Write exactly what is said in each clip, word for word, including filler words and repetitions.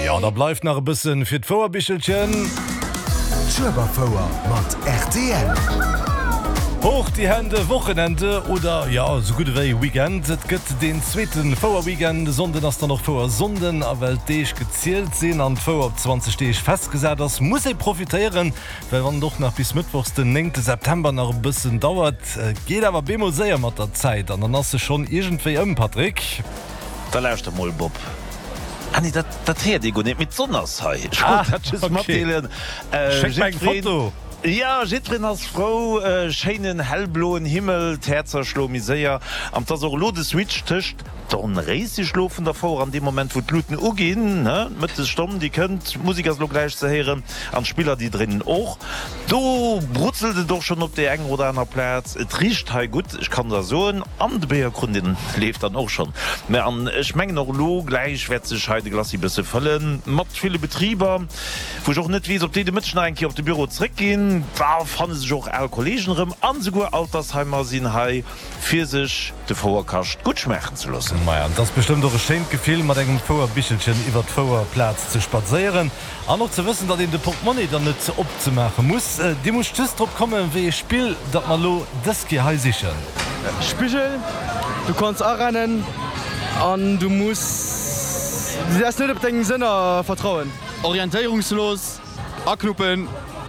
Jo, da bleift nach e bëssen fir d'Fouerbichelchen. Schueberfouer mat rtl. Hoch die Hände, Wochenende oder jo, esou gutt ewéi Weekend. Et gëtt deen zweete Fouer-Weekend. E Sonnden ass dann och Fouersonnden a well d'Deeg gezielt sinn an d'Fouer op zwanzeg Deeg festgesat ass, muss ee profitéieren, well wann et och nach bis mëttwochs den néngte September nach e bëssen dauert, geet awer bemol séier mat der Zäit an dann ass se schonn iergendwéi ëm, Patrick. Da lauschter mol, Bob. Ah nee, dat, dat héiert ee guer net, mee d'Sonn ass hei. Ech wollt dat just matdeelen. Schéck mer eng Jiddwereen, Foto! jo, jiddwereen ass frou. Schéinen hellbloen Himmel, d'Häerzer schloe méi séier an 't ass och elo de Switch tëscht Dornréiseschlo vun der Fouer an deem Moment wou d'Luuten uginn, ne, d'Mëttesstonn déi kënnt, d'Musek ass elo gläich ze héieren an d'Spiller déi dréinen och. Do brutzelt et och schonn op där enger oder aner Plaz. Et richt hei gutt, ech kann der soen. An de Béierkrunn, dee leeft dann och schonn. Mä an ech mengen och elo gläich wäert sech hei de Glacis bësse fëllen mat ville Betriber, wou ech och net weess, ob déi de Mëtteg nach eng Kéier op de Büro zréckginn. Da fanne sech och al Kollegen erëm an esouguer Altersheimer sinn hei, fir sech de Fouerkascht gutt schmaachen ze loossen. Maja, et ass bestëmmt och e schéint Gefill, mat engem Fouerbichelchen iwwer d'Fouerplaz ze spadséieren an och ze wëssen, datt een de Portmonni dann net opzemaache muss. Dir musst just drop kommen, wéi ee Spill datt mer elo dës Kéier hei sichen. Spigel, du kanns arennen an du muss, du däerfs net op deng Sënner vertrauen. Orientéierungslos, aknuppen.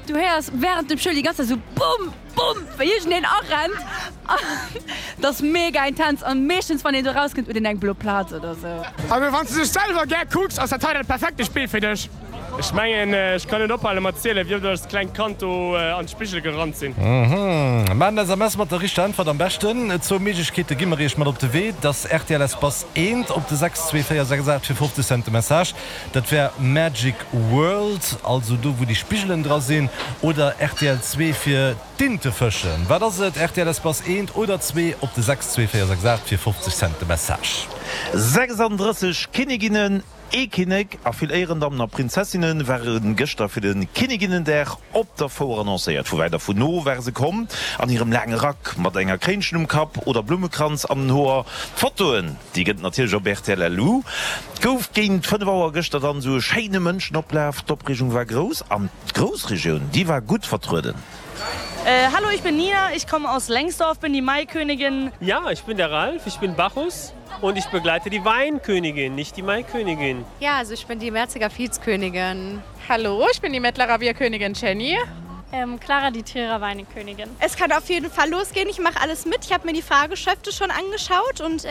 Du héiers wärend dem Spill déi ganz Zäit esou Bumm! Bumm! Wéi iergendeen arennt an et ass mega intens an meeschtens wann een do rauskënnt huet een eng blo Plaz oder sou. Also wanns de dech selwer gär kucks ass dat hei dat perfekte Spill fir dech. Ech mengen ech kann net ophalen mat zielen wéi oft ech als klengt Kand do an d'Spigel gerannt sinn. Maacht en S M S mat der richteger Äntwert am beschten. Zwou Méiglechkeete gi mer iech mat op de Wee, dass rtl Espace eent op de sechs zwee véier sechs aacht fir fofzeg Cent de Message. Dat wär Magic World, also do wou déi Spigelen dra sinn, oder rtl zwee fir d'Inte fëschen. Wat ass et? Rtl Espace eent oder zwee op de sechs zwee véier sechs aacht fir fofzeg Cent de Message. Sechsandrësseg Kinniginnen, ee Kinnek a vill Éierendammen a Prinzessinne ware gëschter fir de Kinniginnendag op der Fouer annoncéiert. Vu wäit a vun no ware se komm, an hirem laange Rack, mat enger Kréinchen um Kapp oder Blummekranz an den Hoer. D'Fotoen, déi gëtt et natierlech op rtl LU. Et gouf géint fënnef Auer gëschter dann esou e schéine Mënschenoplaf. D'Opreegung war grouss an d'Groussregioun, déi war gutt vertrueden. Hallo, ich bin Nina, ich komme aus Lengsdorf, bin die Maikönigin. Ja, ich bin der Ralf, ich bin Bacchus und ich begleite die Weinkönigin, nicht die Maikönigin. Ja, also ich bin die Merziger Vizkönigin. Hallo, ich bin die Mettlerer Bierkönigin Jenny. Clara, die Trierer Weinkönigin. Es kann auf jeden Fall losgehen, ich mache alles mit. Ich habe mir die Fahrgeschäfte schon angeschaut und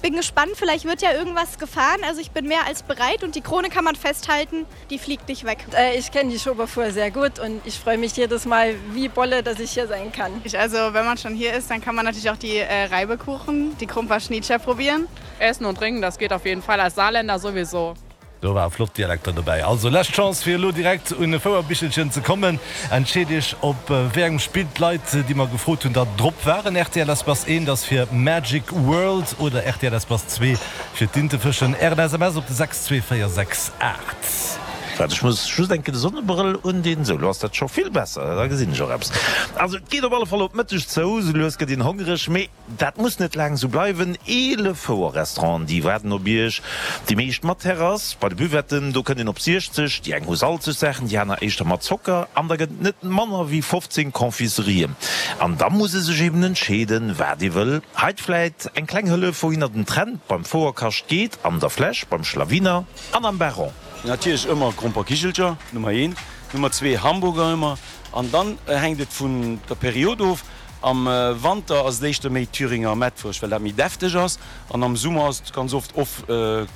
bin gespannt, vielleicht wird ja irgendwas gefahren. Also ich bin mehr als bereit und die Krone kann man festhalten, die fliegt nicht weg. Ich kenne die Schueberfuer sehr gut und ich freue mich jedes Mal wie Bolle, dass ich hier sein kann. Also wenn man schon hier ist, dann kann man natürlich auch die Reibekuchen, die Krumper-Schnietscher probieren. Essen und trinken, das geht auf jeden Fall als Saarländer sowieso. Do ware flott Dialekter dobäi. Also lescht Chance fir elo direkt un e Fouerbichelchen ze kommen. Entscheet iech op wéi engem Spill d'Leit déi mer gefrot hunn da drop waren. Rtl Espace eent ass fir Magic World oder rtl Espace zwee fir d'Intefëschen. Ären S M S op de sechs zwee véier sechs aacht. Waart ech muss just eng Kéier de Sonnebrëll undinn. Sou, lo ass dat scho vill besser, da gesinn ech och eppes. Also et geet op alle Fall op Mëtteg zou, sou lues gëtt een hongereg, mee Dat muss net laang esou bleiwen, eelef Fouer-Restauranten, déi waarden op Iech. Déi meescht mat Terrass. Bei de Buvetten, do kënnt een op siechzeg. Déi eng hu salzeg Saachen, déi aner éischter mat Zocker. An da gëtt et net manner wéi fofzéng Confiserien. An da muss ee sech eben entscheeden, wat ee wëll. Heit vläit eng kleng Hëllef, wouhinner den Trend beim Fouerkascht geet, an der Fläsch, beim Schlawiner an am Baron. Natierlech ëmmer Gromperkichelcher, Nummer eent. Nummer zwee Hamburger ëmmer. An dann hänkt et vun der Period of. Am Wanter ass et éischter méi Thüringer Mettwurscht, well dat méi defteg ass, an am Summer ass et ganz oft of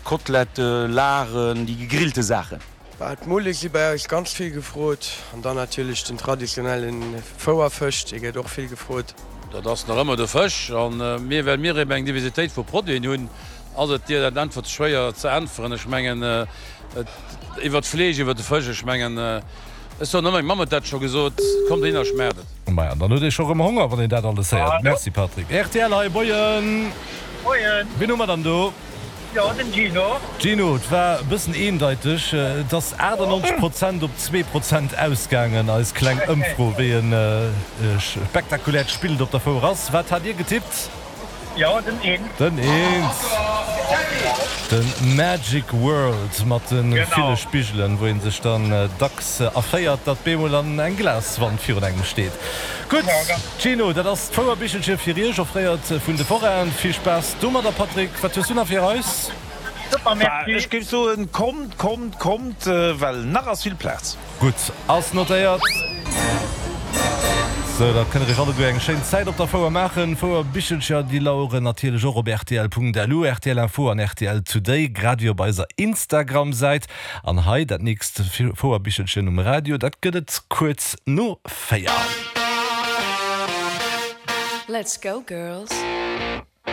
Kotelette, Laren, déi gegrillte Saachen. Bah, d'Mulle si bei eis ganz vill gefrot an dann natierlech den traditionelle Fouerfësch, dee gëtt och vill gefrot. Dat ass nach ëmmer de Fësch. An mir, well mir eben eng Diversitéit vu Produiten hunn, ass et dir dat Äntwert schwéier ze äntweren. Ech mengen, iwwer d'Fleesch, iwwer de Fësch, ech mengen, Ech soen ëmmer, meng Mamm huet dat scho gesot, kommt hin a schmaacht et. Maja, dann huet ee scho rëm Honger, wann een dat alles héiert. Merci Patrick. Rtl hei, moien! Moien! Wien hu mer dann do? Jo, den Gino. Gino, et war e bëssen eendeiteg, et ass achtannonzeg Prozent op zwee Prozent ausgaangen, eis kleng Ëmfro, wéi e spektakuläert Spill et op der Fouer ass. Wat hat Dir getippt? Jo, den Eent. Den Eent. De Magic World mat de ville Spigelen, wou ee sech dann dacks erféiert, datt bemol an eng Glaswand virun engem steet. Gutt, Gino, dat ass d'Fouerbichelche fir Iech, offréiert vun de Forainen. Vill Spaass domadder. Patrick, wat hues du nach fir eis? Super, merci. Ech géif soen, kommt, kommt, kommt, well nach ass vill Plaz. Gutt, ass notéiert. Sou, da kënnt der iech alleguer eng schéin Zäit op der Fouer maachen. Fouerbichelcher, déi laueren natierlech och op rtl.lu, rtl Info an rtl Today, grad ewéi op eiser Instagram-Säit. An hei dat nächst Fouerbichelchen um Radio, dat gëtt et kuerz no véier. Let's go girls!